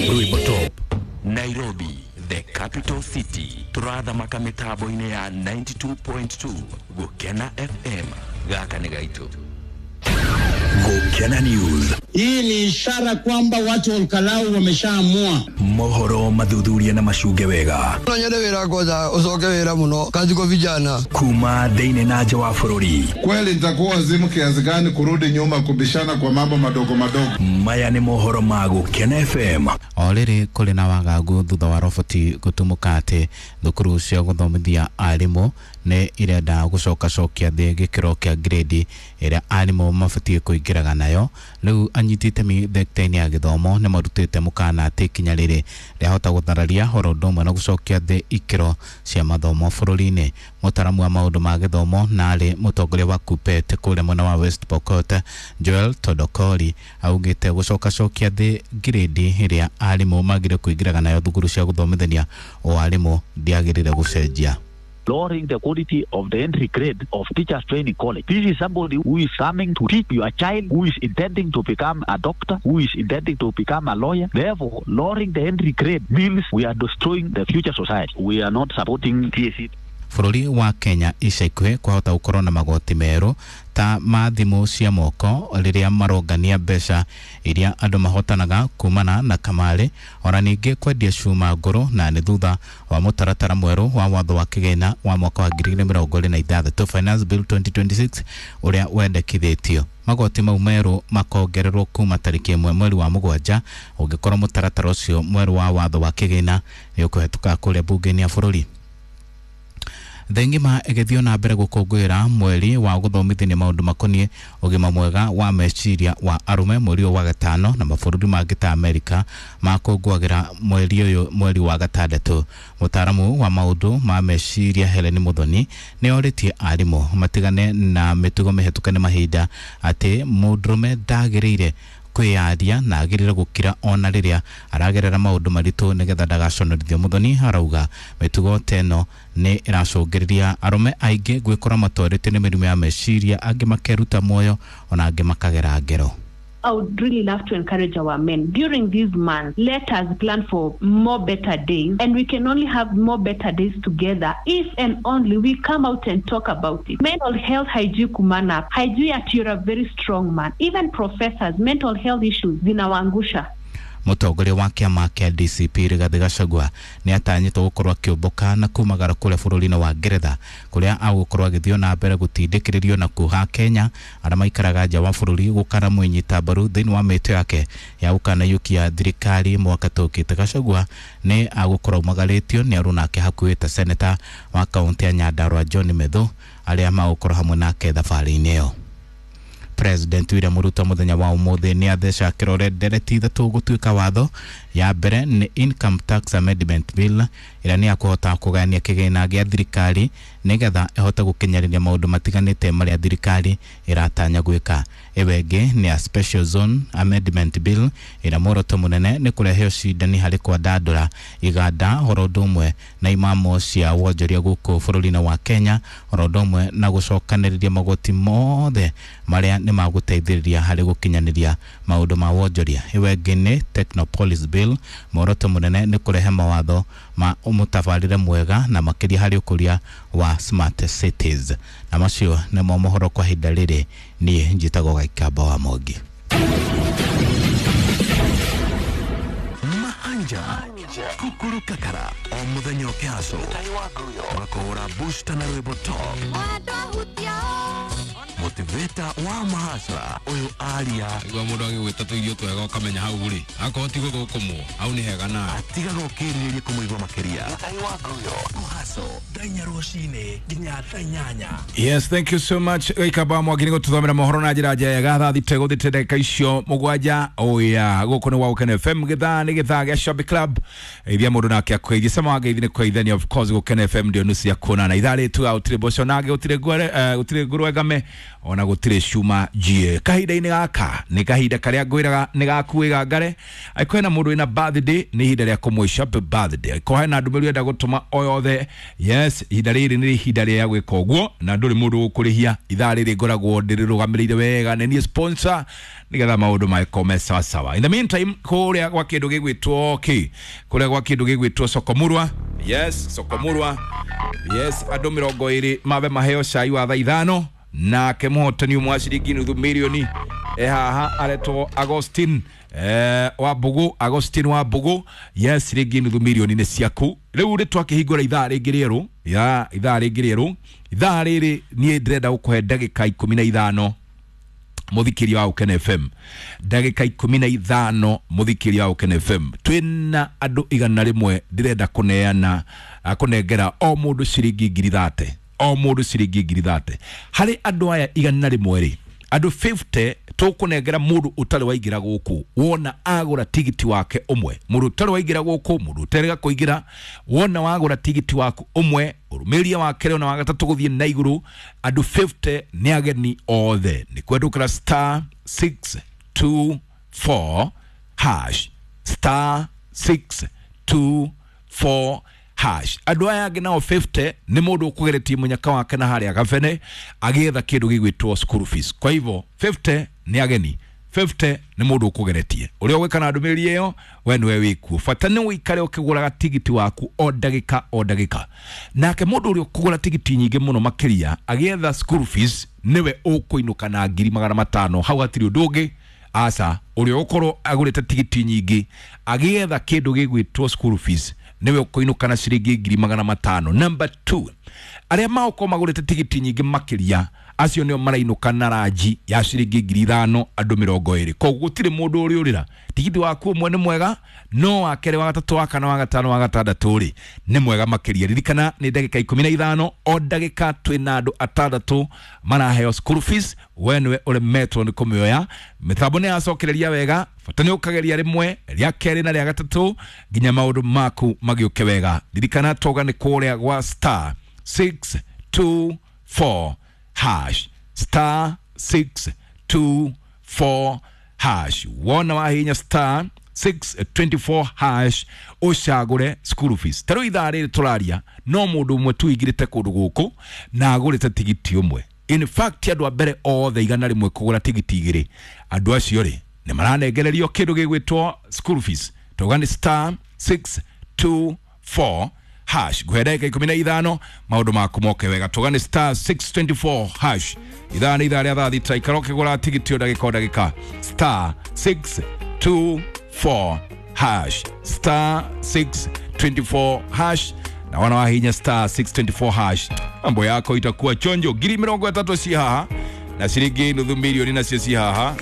Rwimbo Top Nairobi, the capital city. Turathamaka mitambo-inĩ ya 92.2 Gukena FM. Gaka nĩ gaitũ. Gukena News. Hii ni ishara kwamba watu wa Olkalau wameshaamua. Mohoro mathuthuria na macunge wega. No nyende wĩra kwanza ucoke wĩra muno kazi kwa vijana. Kuma thĩinĩ na nja wa bũrũri. Kweli nitakuwa wazimu kiasi gani kurudi nyuma kubishana kwa mambo madogo madogo? Maya nĩ mohoro ma Gukena FM. O rĩrĩ kũrĩ na wagagu thutha wa roboti gũtumũka atĩ thukuru cia gũthomithia arimũ nĩ irenda gũcokacokia thĩ gĩkĩro kĩa grade ĩrĩa arimũ mabatiĩ kũingĩraga nayo. Rĩu anyiti itemi thekta-inĩ ya gĩthomo nĩ marutĩte mũkana atĩ ikinya rĩrĩ rĩahota gũthararia oro ũndũ ũmwe na gũcokia thĩ ikĩro cia mathomo bũrũri-inĩ. Mũtaramu wa maũndũ ma gĩthomo na arĩ mũtongoria wa KUPPET kũrĩa mwena wa West Pokot Joel Todokori augĩte gũcokacokia thĩ grade ĩrĩa arimũ magĩrĩire kũingĩraga nayo thukuru cia gũthomithania o arimũ ndĩagĩrĩire gũcenjia. Lowering the quality of the entry grade of teachers training college. This is somebody who is coming to teach your child, who is intending to become a doctor, who is intending to become a lawyer. Therefore, lowering the entry grade means we are destroying the future society. We are not supporting TSC. Bũrũri wa Kenya ica ikuhĩ kwahota gũkorwo na magoti merũ ta ma thimũ cia moko rĩrĩa marongania mbeca iria andũ mahotanaga kumana na kamarĩ, ona ningĩ kwendia cuma ngũrũ, na nĩ thutha wa mũtaratara mwerũ wa watho wa kĩgĩna wa mwaka wa 2026 Finance Bill 2026 ũrĩa wendekithĩtio. Magoti mau merũ makongererwo kuma tarĩki 1 mweri wa 7 ũngĩkorwo mũtaratara ũcio mwerũ wa watho wa kĩgĩna nĩ ũkũhetũka kũrĩa bunge-inĩ ya bũrũri. Thĩ ng'ima ĩgĩthiĩ na mbere gũkũngũĩra mweri wa gũthomithania maũndũ makoniĩ ũgima mwega wa meciria wa arũme mweri ũyũ wa gatano, na mabũrũri mangĩ ta Amerika makũngũagĩra mweri ũyũ mweri wa gatandatũ. Mũtaaramu wa maũndũ ma meciria Helen Muthoni nĩ orĩtie arimũ matigane na mĩtugo mĩhetũke nĩ mahinda atĩ mũndũrũme ndagĩrĩire kwĩyaria na agĩrĩire gũkira ona rĩrĩa aragerera maũndũ maritũ nĩgetha ndagaconorithio. Muthoni arauga mĩtugo ta ĩno nĩ ĩracũngĩrĩria arũme aingĩ gwĩkora matwarĩtio nĩ mĩrimũ ya meciria, angĩ makeruta muoyo ona angĩ makagera ngero. I would really love to encourage our men during this month. Let us plan for more better days, and we can only have more better days together if and only we come out and talk about it. Mental health haijui kumana, haijui ati you're a very strong man. Even professors, mental health issues zinawaangusha. Mũtongoria wa kĩama kĩa DCP Rigathĩ Gachagua nĩ atanyĩtwo gũkorwo akĩũmbũka na kumagara kũrĩa bũrũri-inĩ wa Ngeretha kũrĩa agũkorwo agĩthiĩ na mbere gũtindĩkĩrĩrio na kuha Kenya arĩa maikaraga nja wa bũrũri gũkara mwĩnyita mbaru thĩinĩ wa mĩtĩ yake ya gũkanayũkia thirikari mwaka tũkĩte. Gachagua nĩ agũkorwo aumagarĩtio nĩ aruna ake hakuhĩ ta seneta wa kaũntĩ ya Nyandarua John Methu arĩa magũkorwo hamwe nake thabarĩ-inĩ ĩyo. President William Ruto muthenya wa umuthi ni atheca kirore ndereti ithatu gutuika watho. Ya mbere ni Income Tax Amendment Bill ĩrĩa nĩ ya kũhota kũgayania kĩgĩna gĩa thirikari nĩgetha ĩhote gũkinyanĩria maũndũ matiganĩte marĩa thirikari ĩratanya gwĩka. Ĩyo ĩngĩ nĩ ya Special Zone Amendment Bill ĩrĩa muoroto mũnene nĩ kũrehe ũcindani harĩ kwandandũra iganda oro ũndũ ũmwe na imamo cia wonjoria gũkũ bũrũri-inĩ wa Kenya, oro ũndũ ũmwe na gũcokanĩrĩria magoti mothe marĩa nĩ magũteithĩrĩria harĩ gũkinyanĩria maũndũ ma wonjoria. Ĩyo ĩngĩ nĩ Technopolis Bill, muoroto mũnene nĩ kũrehe mawatho ma mũtabarĩre mwega na makĩria harĩ ũkũria wa smart cities. Na macio nĩmo mohoro kwa ihinda rĩrĩ. Niĩ njĩtagwo Gaikamba wa Mwangi. Mahanja kukuru kakara o muthenya ũkĩhaco makũhũra booster na rwĩmbo top motivator wa mahasra ũyũ aria igua mũndũ agĩgwĩta tũirio twega ũkamenya hau rĩ akorwo ti gũthũkũmwo hau nĩ hega nawe atigaga ũkĩrirĩria kũmũigua makĩria kũhaco thaa rũcinĩ nginya thaa 8. Yes, thank you so much Gaikamba Mwangi nĩ gũtũthomera mohoro na njĩra njega. Thaa thita gũthĩte ndagĩka icio 7. Oya gũkũ nĩ wa Gũkena FM, gĩthaa nĩ gĩthaa gĩa Shopping Club. Ithia mũndũ nake akũgeithie cama wa ngeithi nĩ kũgeithania, of course Gũkena FM ndio nusu ya kuonana. Ithaa rĩtu gũtirĩ mboco nage gũtirĩ ngũrwengame Ona gũtirĩ cuma njie. Kahinda-inĩ gaka nĩ kahinda karĩa ngwĩraga nĩ gakuĩga ngare. Angĩkorwo hena mũndũ wĩna birthday, nĩ ihinda rĩa kũmũica happy birthday. Angĩkorwo hena ndũmĩrĩri ũrenda gũtũma o yothe, yes, ihinda rĩrĩ nĩ ihinda rĩa gwĩka ũguo na ndũrĩ mũndũ ũkũrĩhia. Ithaa rĩrĩ ngoragwo ndĩrĩrũgamĩrĩire wega, nĩ niĩ sponsor, nĩgetha maũndũ magĩkorwo me sawasawa. In the meantime, kũrĩa gwa kĩndũ gĩgwĩtwo kĩ, kũrĩa gwa kĩndũ gĩgwĩtwo Sokomurwa, yes, Sokomurwa, yes, andũ 20 mabe maheo cai wa thaa 5, nake mũhotani ũmwe wa ciringi nuthu mirioni e haha aretwo Agostin wa Mbugu, Agostin wa Mbugu, yes, ciringi nuthu mirioni nĩ ciaku. Rĩu rĩ twakĩhingũra ithaa rĩngĩ rĩerũ, ya ithaa rĩngĩ rĩerũ, ithaa rĩrĩ niĩ ndĩrenda gũkũhe ndagĩka 15 mũthikĩria wa Gũkena FM, ndagĩka 15 mũthikĩria wa Gũkena FM. Twĩna andũ 100 ndĩrenda kũneana kũnengera o mũndũ ciringi 30,000, o mũndũ ciringi 30,000. Harĩ andũ aya 100 rĩ, andũ 50 tũkũnengera mũndũ ũtarĩ waingĩra gũkũ wona agũra tigiti wake ũmwe. Mũndũ ũtarĩ waingĩra gũkũ, mũndũ ũterega kũingĩra, wona wagũra tigiti waku ũmwe, ũrũmĩrĩria wa kerĩ ona wa gatatũ gũthiĩ na igũrũ, andũ 50 nĩ ageni othe. Nĩ kwendũkĩra star 624 hash, star 624 hash. Andũ aya angĩ nao 50 nĩ mũndũ ũkũgeretie mũnyaka wake na harĩa gabene agĩetha kĩndũ gĩgwĩtwo school fees. Kwa hivyo 50 nĩ ageni, 50 nĩ mũndũ ũkũgeretie. Ũrĩa ũgwĩka na ndũmĩrĩri ĩyo we nĩwe wĩkuo. Bata nĩ ũikare ũkĩgũraga tigiti waku o ndagĩka o ndagĩka. Nake mũndũ ũrĩa ũkũgũra tigiti nyingĩ mũno makĩria agĩetha school fees nĩwe ũkũinũka na 500,000. Hau hatirĩ ũndũ ũngĩ. Aca, ũrĩa ũkorwo agũrĩte tigiti nyingĩ agĩetha kĩndũ gĩgwĩtwo school fees nĩwe ũkũinũka na ciringi 500,000. Number 2, arĩa magũkorwo magũrĩte tigiti nyingĩ makĩria acio nĩo marainũka na ranji ya ciringi 5,000 andũ 20. Koguo gũtirĩ mũndũ ũrĩũrĩra. Tigiti waku ũmwe nĩ mwega, no wa kerĩ, wa gatatũ, wa kana, wa gatano, wa gatandatũ rĩ nĩ mwega makĩria. Ririkana nĩ ndagĩka 15, o ndagĩka twĩna andũ atandatũ maraheo school fees. We nĩwe ũremetwo nĩ kũmĩoya. Mĩtambo nĩ yacokereria wega, bata nĩ ũkageria rĩmwe, rĩa kerĩ na rĩa gatatũ nginya maũndũ maku magĩũke wega. Ririkana toga nĩ kũrĩa gwa star 624 hash, star 624 hash. Wona wahinya star 624 hash ũcagũre school fees. Ta rĩu ithaa rĩrĩ tũraria no mũndũ ũmwe tu ũingĩrĩte kũndũ gũkũ na agũrĩte tigiti ũmwe. In fact, andũ a mbere othe 100 kũgũra tigiti 2, andũ acio rĩ nĩ maranengererio kĩndũ gĩgwĩtwo school fees. Tauga nĩ star 624 hash. Nguhe ndagĩka 15 maũndũ maku moke wega. Tauga nĩ star 624 hash. Ithaa nĩ ithaa rĩa thaa 6, ikara ũkĩgũra tigiti o ndagĩka o ndagĩka. Star 624 hash, star 624 hash. Na wana wahinya star 624 hash, mambo yako itakuwa chonjo. 30,000 ci haha na ciringi 500,000 nacio ci haha.